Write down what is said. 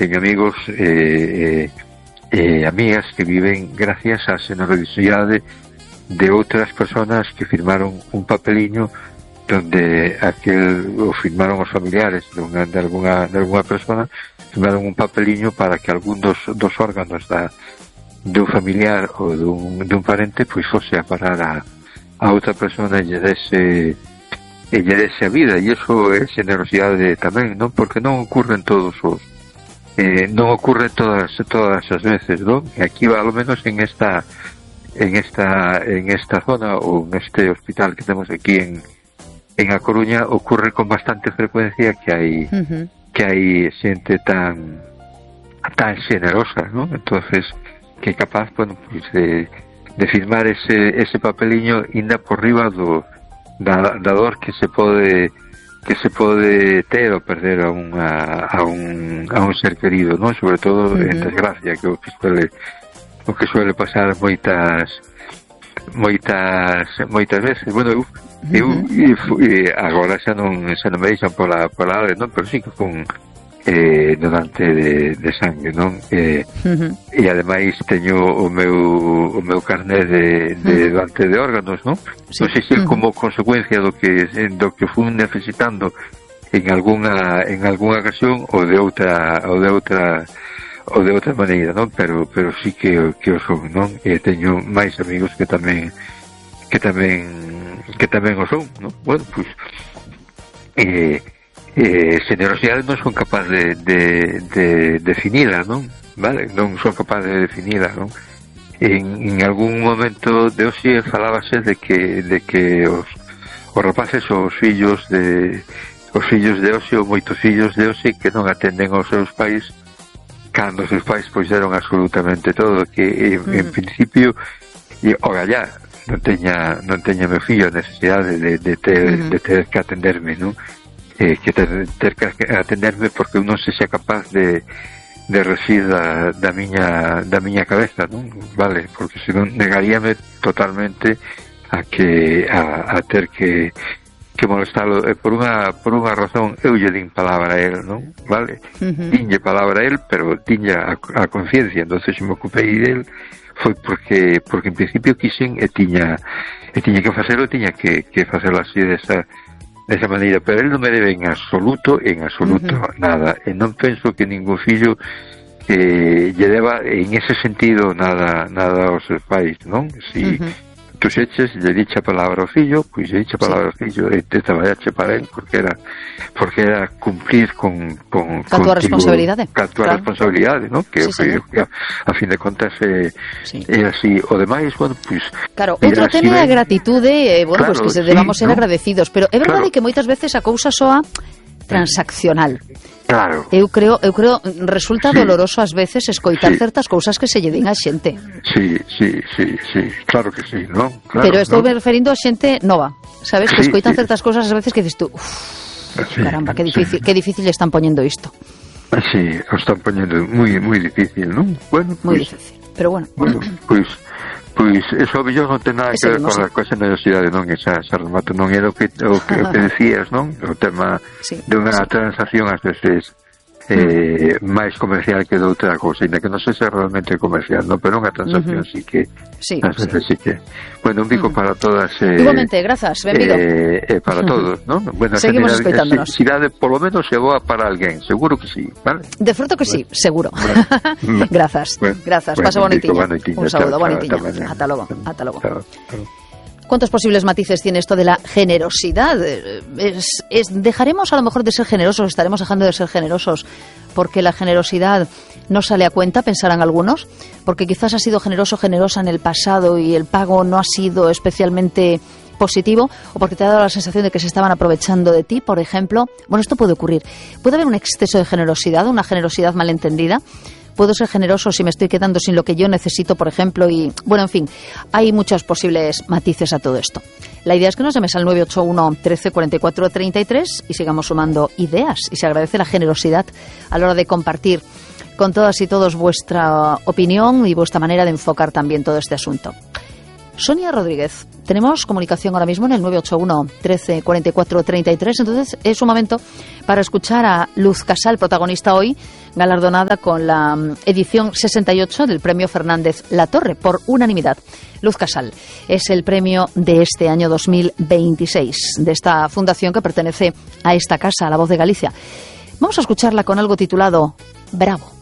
teño amigos amigas que viven gracias á generosidade de outras personas que firmaron un papeliño donde o firmaron os familiares de alguna persona, firmaron un papeliño para que algún dos órganos dun familiar ou dun parente pois fose a parar a outra persona e lle dese a vida, e iso é generosidade tamén, non? Porque non ocurren todas as veces, non? E aquí, ao menos en esta zona ou neste hospital que temos aquí en A Coruña, ocurre con bastante frecuencia que hai xente tan generosa, non? Entonces, que é capaz, bueno, pues de firmar ese papeliño inda por riba da dor que se pode ter ou perder a un ser querido, non? Sobre todo en desgracia, que o que suele pasar moitas veces. Bueno, eu agora xa non me deixan pola área, non? Pero sí que fun donante de sangue, non? E ademais teño o meu carné de donante de órganos, non? Non sei se como consecuencia do que fun necesitando en algunha ocasión ou de outra maneira, non? Pero sí que o son, non? E teño máis amigos que tamén o son, non? Bueno, pois generosidade non son capaz de definila, non? Vale? Non son capaz de definila, non? En algún momento de hoxe falábase de que os rapaces ou os fillos de hoxe ou moitos fillos de hoxe que non atenden aos seus pais cando os seus pais pois deron absolutamente todo, que en principio ora ya non teña meu fillo a necesidade de ter que atenderme, non? Que ter que atenderme porque eu non se xa capaz de resir da miña cabeza, non? Vale, porque senón negaríame totalmente a ter que molestalo, por unha razón. Eu lle din palabra a él, non? Vale, dinlle palabra a él, pero dinlle a conciencia. Entonces me ocupei del foi porque en principio quixen e tiña que facelo, tiña que facelo así desa maneira, pero él non me debe en absoluto nada, e non penso que ningún fillo lle deba en ese sentido nada aos seus pais, non? Si tú xeches, lle diche a palabra ao fillo, pois lle diche a palabra ao fillo e te traballache para él, porque era cumplir con tua responsabilidade. Responsabilidade, non? Que a fin de contas é así. O demais, bueno, pois... Claro, outro tema é a gratitude, bueno, pois que se debamos ser agradecidos, pero é verdade que moitas veces a cousa soa transaccional. Claro. Eu creo resulta doloroso ás veces escoitar certas cousas que se lle din a xente. Sí, claro que sí, non? Claro, pero estou me referindo a xente nova, sabes, que escoitan certas cousas ás veces que dices tú, caramba, que difícil están poñendo isto. Sí, o están poñendo moi difícil, non? Bueno, moi difícil, pero bueno. Pois eso mellor non ten nada que ver con a generosidade, non? Esa remato non era o que decías, non? O tema de unha transacción ás veces máis comercial que de outra cousa, ainda que non sexa realmente comercial, non? Pero unha transacción sí que ás veces sí que. Bueno, un bico para todas. Igualmente, grazas, benvido. Para todos, non? Bueno, seguimos escoitándonos. Cidade polo menos é boa para alguén, seguro que sí, vale? De fruto que sí, seguro. Grazas, pasa bonitiña. Un saludo, bonitiña. Ata logo. ¿Cuántos posibles matices tiene esto de la generosidad? ¿Dejaremos a lo mejor de ser generosos, estaremos dejando de ser generosos porque la generosidad no sale a cuenta, pensarán algunos? Porque quizás has sido generoso, generosa en el pasado y el pago no ha sido especialmente positivo, o porque te ha dado la sensación de que se estaban aprovechando de ti, por ejemplo. Bueno, esto puede ocurrir. Puede haber un exceso de generosidad, una generosidad malentendida. Puedo ser generoso si me estoy quedando sin lo que yo necesito, por ejemplo, y bueno, en fin, hay muchos posibles matices a todo esto. La idea es que nos llames al 981 13 44 33 y sigamos sumando ideas, y se agradece la generosidad a la hora de compartir con todas y todos vuestra opinión y vuestra manera de enfocar también todo este asunto. Sonia Rodríguez, tenemos comunicación ahora mismo en el 981 13 44 33, entonces es un momento para escuchar a Luz Casal, protagonista hoy, galardonada con la edición 68 del Premio Fernández Latorre, por unanimidad. Luz Casal es el premio de este año 2026, de esta fundación que pertenece a esta casa, a La Voz de Galicia. Vamos a escucharla con algo titulado Bravo.